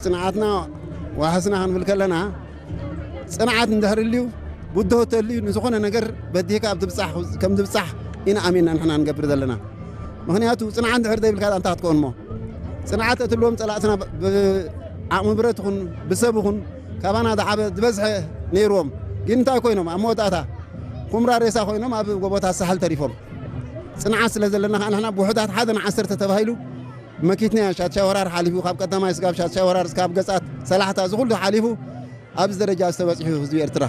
ጽንዓትና ዋሕስና ክንብል ከለና፣ ጽንዓት እንድሕር ልዩ፣ ብድሆ ተልዩ፣ ንዝኾነ ነገር በዲህካ ኣብ ትብጻሕ፣ ከም ትብጻሕ ኢና ኣሚንና ንሕና ንገብር ዘለና። ምኽንያቱ ጽንዓት እንድሕር ዘይብልካ እንታይ ክትከውን እሞ? ጽንዓት እትልዎም ጸላእትና ብ-፣ ብዓቕሚ ብረት ይኹን ብሰብ ይኹን ካባና ዝዓበ ዝበዝሐ ነይርዎም። ግን እንታይ ኮይኖም? ኣብ መወዳእታ ኩምራ ሬሳ ኮይኖም ኣብ ጎቦታት ሳሕል ተሪፎም። ጽንዓት ስለ ዘለና ከዓ ንሕና ብውሑዳት ሓደ ንዓሰርተ ተባሂሉ መኪትና ሻድሻይ ወራር ሓሊፉ፣ ካብ ቀዳማይ ስጋብ ሻድሻይ ወራር ስጋብ ገጻት ሰላሕታ እዚ ኩሉ ሓሊፉ ኣብዚ ደረጃ ዝተበጽሑ ህዝቢ ኤርትራ።